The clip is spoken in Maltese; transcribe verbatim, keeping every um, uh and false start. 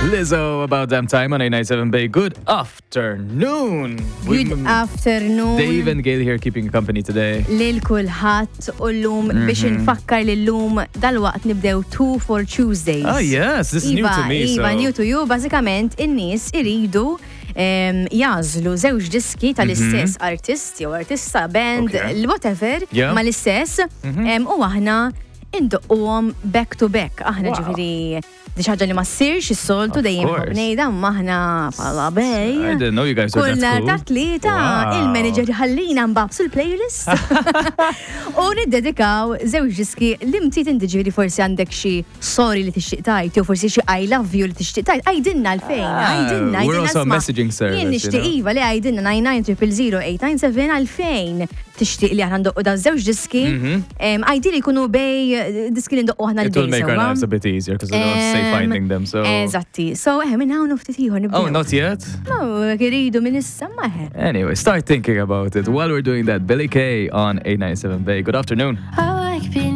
Lizzo, About Damn Time on eight nine seven Bay. Good afternoon. Good We've- afternoon. Dave and Gail here keeping you company today. Lil kulħadd u llum biex Mhm. nfakkar li llum dalwaqt nibdew two for Tuesdays. Oh yes, this is new Iva, to me. Iva, so. new to you. Bażikament, in-nies iridu em, jagħżlu żewġ diski tal-istess artist jew artista, band, Mhm. Okay. whatever, Yeah. ma l-istess, em, u aħna indoqquhom back to back. Aħna Wow. ġifieri di xi ħaġa li ma ssirx is-soltu Of dejjem course. ngħidha ma aħna bħala Bay. I didn't know you guys were Kull that nhar cool. ta' Tlieta Wow. il-manager ħallina nbabsu l-playlist u niddedikaw żewġ diski li mtit inti ġifieri forsi għandek xi sorry li tixtieq tgħid jew forsi xi I love you li tixtieq tgħid. Għidilna għalfejn, Ah, għidilna, we're għidilna also a isma'. messaging service, Jien you nixtieq know. iva li għidilna nine nine triple zero eight nine seven għalfejn tixtieq li aħna ndoqqu da żewġ diski. Em, Għidili jkunu Bay eh, diski li ndoqqu aħna It will l-Bay make our sewwa. lives a bit easier because we don't have to say Em, finding them. So. Eżatti. So, eh, minn hawn u ftit ieħor nibdew. Oh, not yet? No, iridu minn issa ma eh. Anyway, start thinking about it. While we're doing that, Billy Kay on eight nine seven Bay. Good afternoon. I like being